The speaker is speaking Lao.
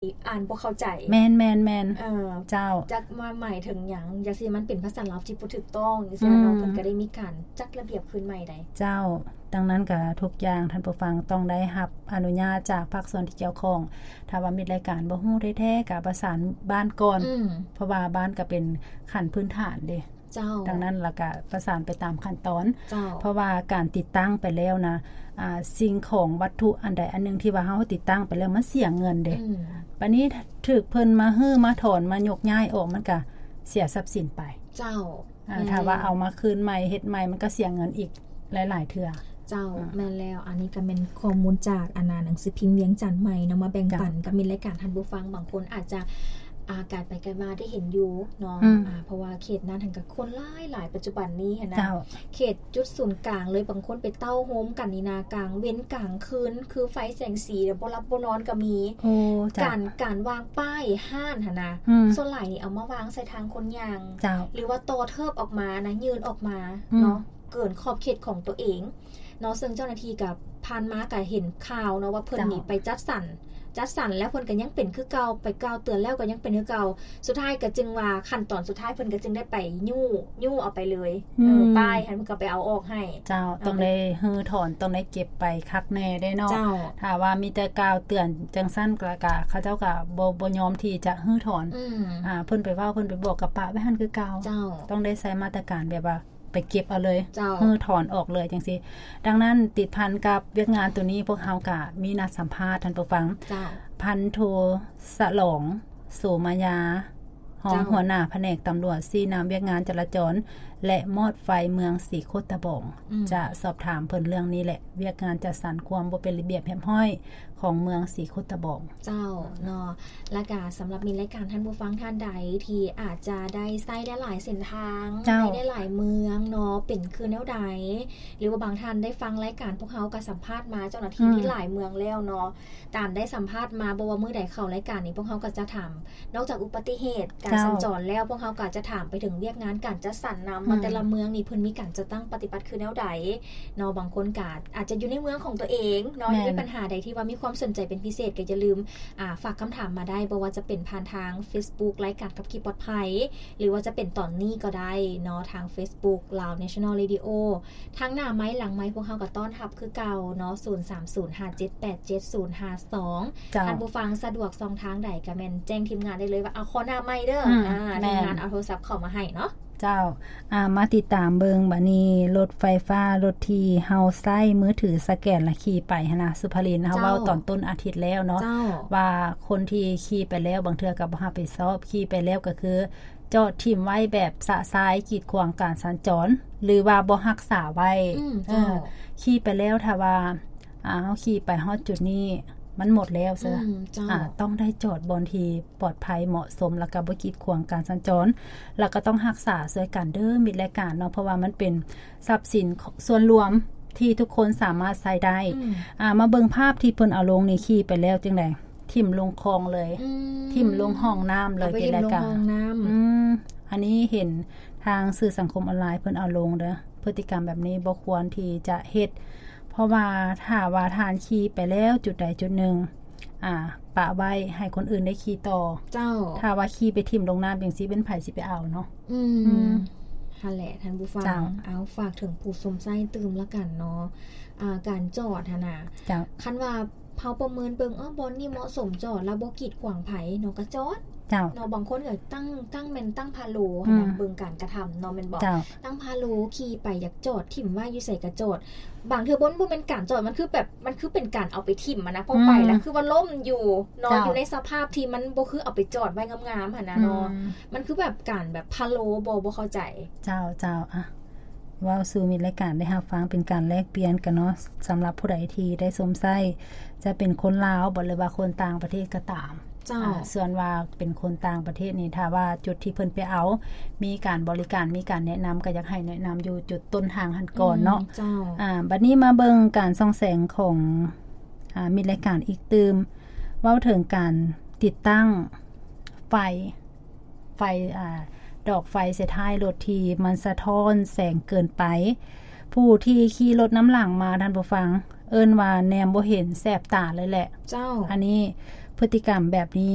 ອ່ານບໍ່ເຂົ້າໃຈ. ແມ່ນໆໆ ເອີ ເຈົ້າ ຈັກວ່າໝາຍເຖິງຫຍັງ ຈັ່ງຊີ້ ມັນເປັນພາສາລາວທີ່ບໍ່ຖືກຕ້ອງ ຈັ່ງຊີ້ເນາະ. ອືມ ເພິ່ນກໍໄດ້ມີການຈັດລະບຽບຄືນໃໝ່ໄດ໋. ເຈົ້າ ດັ່ງນັ້ນກໍທຸກຢ່າງທ່ານຜູ້ຟັງຕ້ອງໄດ້ຮັບອະນຸຍາດຈາກພາກສ່ວນທີ່ກ່ຽວຂ້ອງ. ຖ້າວ່າມິດລາຍການບໍ່ຮູ້ແທ້ໆ ກໍປະສານບ້ານກ່ອນ ອືມ ເພາະວ່າບ້ານກໍເປັນຂັ້ນພື້ນຖານເດ້. ເຈົ້າ ດັ່ງນັ້ນລະກະປະສານໄປຕາມຂັ້ນຕອນ. ເຈົ້າ ເພາະວ່າການຕິດຕັ້ງໄປແລ້ວນະ ອ່າ ສິ່ງຂອງວັດຖຸອັນໃດອັນໜຶ່ງທີ່ວ່າເຮົາຕິດຕັ້ງໄປແລ້ວ ມັນເສຍເງິນເດ້. ອືມ ບາດນີ້ຖືກເພິ່ນມາຮື້ມາຖອນມາຍົກຍ້າຍອອກ ມັນກະເສຍຊັບສິນໄປ. ເຈົ້າ ອ່າ ແມ່ນ ຖ້າວ່າເອົາມາຄືນໃໝ່ເຮັດໃໝ່ ມັນກະເສຍເງິນອີກຫຼາຍໆເທື່ອ. ເຈົ້າ ອືມ ແມ່ນແລ້ວ. ອັນນີ້ກໍແມ່ນຂໍ້ມູນຈາກ ອັນນ່າ ໜັງສືພິມວຽງຈັນໃໝ່ເນາະ ມາແບ່ງປັນ ເຈົ້າ ກັບມິດລາຍການທ່ານຜູ້ຟັງ. ບາງຄົນອາດຈະ ອ່າ ການໄປການມາໄດ້ເຫັນຢູ່ເນາະ ອືມ ອ່າ ເພາະວ່າເຂດນັ້ນຫັ້ນກໍຄົນຫຼາຍໆ ປັດຈຸບັນນີ້ຫັ້ນນະ. ເຈົ້າ ເຂດຈຸດສູນກາງເລີຍ ບາງຄົນໄປເຕົ້າໂຮມກັນນີ້ນະ ກາງເວັນກາງຄືນ ຄືໄຟແສງສີແລ້ວບໍ່ຫຼັບບໍ່ນອນກໍມີ. ໂອ້ ເຈົ້າ ການ ການວາງປ້າຍຮ້ານຫັ້ນນະ ອືມ ສ່ວນຫຼາຍນີ້ເອົາມາວາງໃສ່ທາງຄົນຍ່າງ ເຈົ້າ ຫຼືວ່າຕໍ່ເທີບອອກມານະ ຍື່ນອອກມາ ອືມ ເນາະ ເກີນຂອບເຂດຂອງຕົວເອງ ເນາະ. ເຊິ່ງເຈົ້າໜ້າທີ່ກໍຜ່ານມາກໍເຫັນຂ່າວເນາະ ວ່າເພິ່ນນີ້ ເຈົ້າ ໄປຈັດສັນ ຈັດສັນແລ້ວເພິ່ນກໍຍັງເປັນຄືເກົ່າ ໄປກ່າວເຕືອນແລ້ວກໍຍັງເປັນຄືເກົ່າ. ສຸດທ້າຍກໍຈຶ່ງວ່າ ຂັ້ນຕອນສຸດທ້າຍເພິ່ນກໍຈຶ່ງໄດ້ໄປຍູ້ ຍູ້ເອົາໄປເລີຍ. ອືມ ເອີ ປ້າຍຫັ້ນເພິ່ນກໍໄປເອົາອອກໃຫ້. ເຈົ້າ ເອີ ຕ້ອງໄດ້ຮື້ຖອນ ຕ້ອງໄດ້ເກັບໄປຄັກແນ່ເດ້ເນາະ. ເຈົ້າ ຖ້າວ່າມີແຕ່ກ່າວເຕືອນຈັ່ງຊັ້ນ ກໍ ກໍເຂົາເຈົ້າກໍບໍ່ ບໍ່ຍອມທີ່ຈະຮື້ຖອນ. ອືມ ອ່າ ເພິ່ນໄປເວົ້າ ເພິ່ນໄປບອກ ກໍປະໄວ້ຫັ້ນຄືເກົ່າ. ເຈົ້າ ຕ້ອງໄດ້ໃຊ້ມາດຕະການແບບວ່າ ໄປເກັບເອົາເລີຍ ເຈົ້າ ຮື້ຖອນອອກເລີຍຈັ່ງຊີ້. ດັ່ງນັ້ນ ຕິດພັນກັບວຽກງານໂຕນີ້ ພວກເຮົາກະມີນັດສຳພາດທ່ານຜູ້ຟັງ. ເຈົ້າ ພັນໂທ ສະຫຼອງ ໂສມາຍາ ຮອງ ເຈົ້າ ຫົວໜ້າພະແນກຕຳຫຼວດ ຊີ້ນຳວຽກງານຈະລາຈອນ ແລະ ມອດໄຟເມືອງສີໂຄດຕະບອງ. ອືມ ຈະສອບຖາມເພິ່ນເລື່ອງນີ້ແຫຼະ ວຽກງານຈັດສັນຄວາມບໍ່ເປັນລະບຽບຮຽບຮ້ອຍຂອງເມືອງສີໂຄດຕະບອງ. ເຈົ້າ ເນາະ ແລ້ວກະສຳລັບມິດລາຍການທ່ານຜູ້ຟັງທ່ານໃດທີ່ອາດຈະໄດ້ໃຊ້ຫຼາຍໆເສັ້ນທາງ ເຈົ້າ ໃນຫຼາຍໆເມືອງເນາະ ເປັນຄືແນວໃດ ຫຼືວ່າບາງທ່ານໄດ້ຟັງລາຍການພວກເຮົາກໍສຳພາດມາເຈົ້າໜ້າທີ່ ອືມ ມີຫຼາຍເມືອງແລ້ວເນາະ ຕາມໄດ້ສຳພາດມາ ບໍ່ວ່າມື້ໃດເຂົ້າລາຍການນີ້ ພວກເຮົາກໍຈະຖາມ ນອກຈາກອຸບັດຕິເຫດການ ເຈົ້າ ສັນຈອນແລ້ວ ພວກເຮົາກໍຈະຖາມໄປເຖິງວຽກງານການຈັດສັນນຳ ອືມ ວ່າແຕ່ລະເມືອງນີ້ເພິ່ນມີການຈັດຕັ້ງປະຕິບັດຄືແນວໃດເນາະ. ບາງຄົນກໍອາດຈະຢູ່ໃນເມືອງຂອງຕົວເອງເນາະ ແມ່ນ ມີບັນຫາໃດທີ່ວ່າມີຄວາມສົນໃຈເປັນພິເສດ ກໍຢ່າລືມ ອ່າ ຝາກຄຳຖາມມາໄດ້ ບໍ່ວ່າຈະເປັນຜ່ານທາງເຟສບຸກ ລາຍການຂັບຂີ່ປອດໄພ ຫຼືວ່າຈະເປັນຕອນນີ້ກໍໄດ້ເນາະ ທາງເຟສບຸກ Lao National Radio. ທັງໜ້າໄມ ຫຼັງໄມ ພວກເຮົາກໍຕ້ອນຮັບຄືເກົ່າເນາະ ສູນສາມສູນຫ້າເຈັດແປດເຈັດສູນຫ້າສອງ. ເຈົ້າ ທ່ານຜູ້ຟັງສະດວກຊ່ອງທາງໃດກໍແມ່ນແຈ້ງທີມງານໄດ້ເລີຍວ່າ ເອົາ ຂໍໜ້າໄມເດີ. ອືມ ອ່າ ແມ່ນ ທີມງານເອົາໂທລະສັບເຂົ້າມາໃຫ້ເນາະ. ເຈົ້າ ອ່າ ມາຕິດຕາມເບິ່ງບາດນີ້ ລົດໄຟຟ້າ ລົດທີ່ເຮົາໃຊ້ມືຖືສະແກນລະຂີ່ໄປຫັ້ນນະ ສຸພາລິນ ເຮົາ ເຈົ້າ ເວົ້າຕອນຕົ້ນອາທິດແລ້ວເນາະ ເຈົ້າ ວ່າຄົນທີ່ຂີ່ໄປແລ້ວ ບາງເທື່ອກໍບໍ່ຮັບຜິດຊອບ ຂີ່ໄປແລ້ວກໍຄືຈອດຖິ້ມໄວ້ແບບຊະຊາຍ ກີດຂວາງການສັນຈອນ ຫຼືວ່າບໍ່ຮັກສາໄວ້. ອືມ ເຈົ້າ ເອີ ຂີ່ໄປແລ້ວ ຖ້າວ່າ ອ່າ ເຮົາຂີ່ໄປຮອດຈຸດນີ້ ມັນໝົດແລ້ວເຊີ ອືມ ເຈົ້າ ອ່າ ຕ້ອງໄດ້ຈອດບ່ອນທີ່ ປອດໄພ ເໝາະສົມ ແລ້ວກໍບໍ່ກີດຂວາງການສັນຈອນ ແລ້ວກໍຕ້ອງຮັກສາຊ່ວຍກັນເດີມິດລາຍການເນາະ ເພາະວ່າມັນເປັນຊັບສິນສ່ວນລວມທີ່ທຸກຄົນສາມາດໃຊ້ໄດ້. ອືມ ອ່າ ມາເບິ່ງພາບທີ່ເພິ່ນເອົາລົງນີ້ ຂີ່ໄປແລ້ວຈັ່ງໃດ? ຖິ້ມລົງຄອງເລີຍ ອືມ ຖິ້ມລົງຫ້ອງນ້ຳເລີຍ ເອົາໄປຖິ້ມລົງຫ້ອງນ້ຳ. ອືມ ອັນນີ້ເຫັນທາງສື່ສັງຄົມອອນລາຍເພິ່ນເອົາລົງເດີ ພຶດຕິກຳແບບນີ້ບໍ່ຄວນທີ່ຈະເຮັດ ເພາະວ່າຖ້າວ່າທ່ານຂີ່ໄປແລ້ວຈຸດໃດຈຸດໜຶ່ງ ອ່າ ປະໄວ້ໃຫ້ຄົນອື່ນໄດ້ຂີ່ຕໍ່. ເຈົ້າ ຖ້າວ່າຂີ່ໄປຖິ້ມລົງນ້ຳຈັ່ງຊີ້ ເປັນໃຜຊິໄປເອົາເນາະ? ອືມ ອືມ ຫັ້ນແຫຼະທ່ານຜູ້ຟັງ. ເຈົ້າ ເອົາ ຝາກເຖິງຜູ້ຊົມໃຊ້ຕື່ມລະກັນເນາະ ອ່າ ການຈອດຫັ້ນນະ. ເຈົ້າ ຄັນວ່າເຮົາປະເມີນເບິ່ງ ເອີ ບ່ອນນີ້ເໝາະສົມຈອດ ແລ້ວບໍ່ກີດຂວາງໃຜເນາະ ກໍຈອດ. ເຈົ້າ ເນາະ ບາງຄົນກໍຕັ້ງ ຕັ້ງແມ່ນຕັ້ງພາໂລຫັ້ນນະ ອືມ ເບິ່ງການກະທຳເນາະ ແມ່ນບໍ່? ເຈົ້າ ຕັ້ງພາໂລ ຂີ່ໄປຢາກຈອດ ຖິ້ມໄວ້ຢູ່ໃສກໍຈອດ. ບາງເທື່ອບໍ່ ບໍ່ແມ່ນການຈອດ ມັນຄືແບບ ມັນຄືເປັນການເອົາໄປຖິ້ມຫັ້ນນະ ເພາະ ອືມ ໄປແລ້ວຄືວ່າລົ້ມຢູ່ເນາະ ເຈົ້າ ຢູ່ໃນສະພາບທີ່ມັນບໍ່ຄືເອົາໄປຈອດໄວ້ງາມໆຫັ້ນນະເນາະ. ອືມ ມັນຄືແບບການແບບພາໂລ ບໍ່ ບໍ່ເຂົ້າໃຈ. ເຈົ້າ ເຈົ້າ ອ່ະ ເວົ້າສູ່ມິດລາຍການໄດ້ຮັບຟັງ ເປັນການແລກປ່ຽນກັນເນາະ. ສຳລັບຜູ້ໃດທີ່ໄດ້ຊົມໃຊ້ ຈະເປັນຄົນລາວບໍ ຫຼືວ່າຄົນຕ່າງປະເທດກໍຕາມ. ເຈົ້າ ອ່າ ສ່ວນວ່າເປັນຄົນຕ່າງປະເທດນີ້ ຖ້າວ່າຈຸດທີ່ເພິ່ນໄປເອົາ ມີການບໍລິການ ມີການແນະນຳ ກໍຢາກໃຫ້ແນະນຳຢູ່ຈຸດຕົ້ນທາງຫັ້ນກ່ອນເນາະ. ອືມ ເຈົ້າ ອ່າ ບັດນີ້ມາເບິ່ງການສ່ອງແສງຂອງ ອ່າ ມິດລາຍການອີກຕື່ມ ເວົ້າເຖິງການຕິດຕັ້ງໄຟ ໄຟ ອ່າ ດອກໄຟໃສ່ທ້າຍລົດທີ່ມັນສະທ້ອນແສງເກີນໄປ. ຜູ້ທີ່ຂີ່ລົດນຳຫຼັງມາ ທ່ານຜູ້ຟັງ ເອີ້ນວ່າແນມບໍ່ເຫັນ ແສບຕາເລີຍແຫຼະ. ເຈົ້າ ອັນນີ້ ພຶດຕິກຳແບບນີ້.